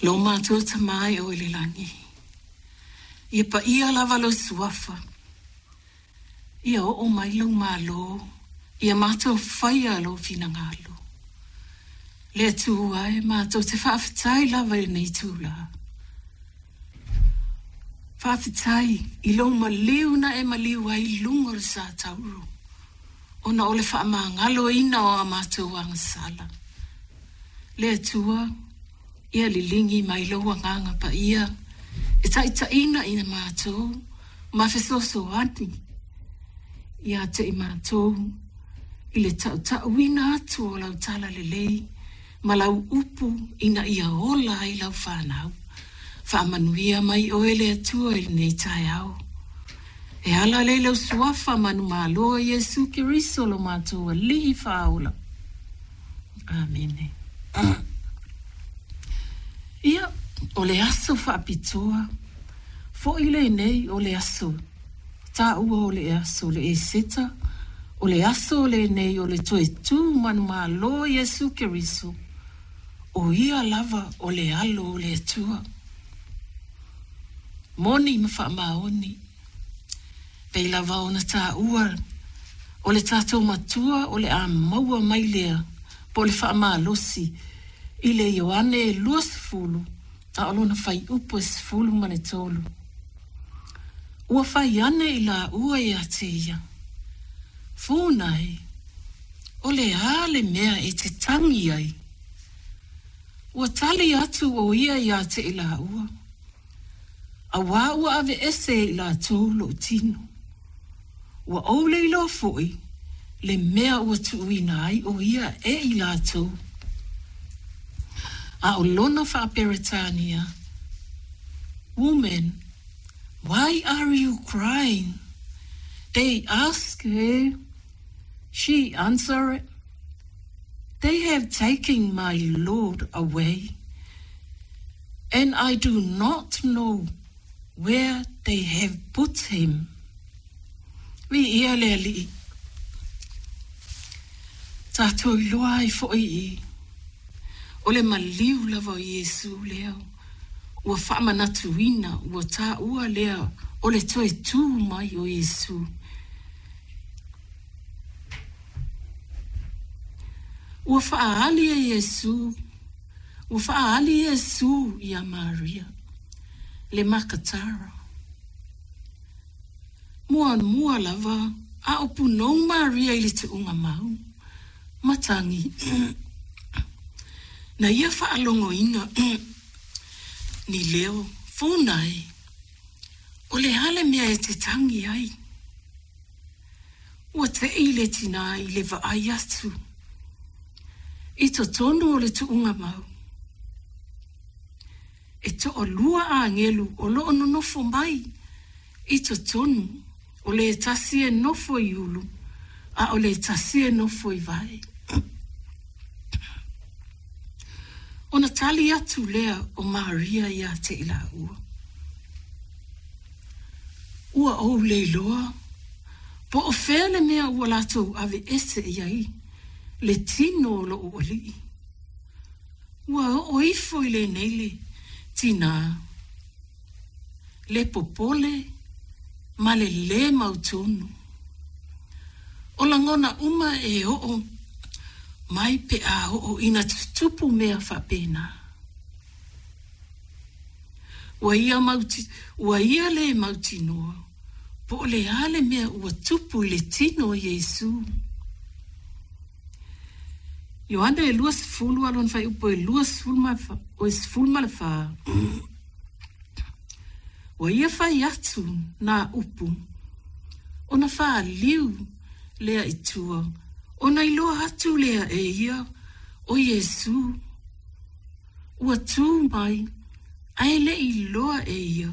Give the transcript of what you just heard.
Lo matou Tama e o i le lagi, ia paia lava lou suafa, ia oo mai lou Malo, ia matou faia lou finagalo. Le Atua e, matou te faafetai lava i lenei itula. Faafetai i lou maliu na e maliu ai i luga o le sa tauro, ona o le faamagaloina o a matou agasala. Le Atua, ia liligi mai lou Agaga Paia e taitaiina i matou ma fesoasoani ia te i matou i le tautauina atu o lau tala lelei ma lau upu ina ia ola ai lau fanau. Faamanuia mai oe le Atua i lenei taeao. E ala lea i lou suafa manumalo o Iesu Keriso lo matou Alii Faaola. Amene. Ia, o le aso faapitoa foi lenei o le aso taua o le aso le Eseta, o le aso lenei o le toe tu manumalo o Iesu Keriso, o ia lava o le alo o le Atua. Moni ma faamaoni. Pei lava ona taua o le tatou Matua o le a maua mai lea po o le faamalosi i le Ioane e 20 a o lona fuaiupu e 13. Ua fai ane i laua ia te ia, Funa e, o le a le mea e te tagi ai? Ua tali atu ʻo ia iā te i laua, Auā ua aveese e i latou loʻu tino. Ua ou le iloa foʻi le mea ua tuuina ai ʻo ia e i latou. A ʻo lona faa-Peretania, Woman, why are you crying? They asked her, she answered, They have taken my Lord away, and I do not know where they have put him. Viia le Alii. Tatou iloa ai foʻi i. O le maliu lava o Iesu lea ua faamanatuina, ua taua lea o le toe tu mai o Iesu. Ua faaali e Iesu, ua faaali Iesu iā Maria, le Makatara. Muamua lava a o punou Maria i le tuuga mau, matagi. Na ia faalogoina ni leo funa e, o le a le mea e te tagi ai? Ua teʻi le tinā i le vaai atu i totonu o le tuuga mau. E toalua agelu o lo o nonofo mai i totonu, o le tasi e nofo i ulu, a o le tasi e nofo i vae. Ona tali atu lea o Maria iā te i laua, Ua ou le iloa po o fea le mea ua latou aveese i ai le tino o loʻu alii. Ua oo ifo i lenei le tinā, le popole ma le lē mautonu. O lagona uma e oo mai pe a oo ina tutupu mea faapena. Ua ia mauti, ua ia lē mautinoa po o le a le mea ua tupu i le tino o Iesū. Ioane e 20 a lona fuaiupu e 20 ma, o e 14. Ua ia fai atu nā upu, ona fāliu lea i tua, ona iloa atu lea e ia ʻo Iesū. Ua tū mai, a e le i iloa e ia.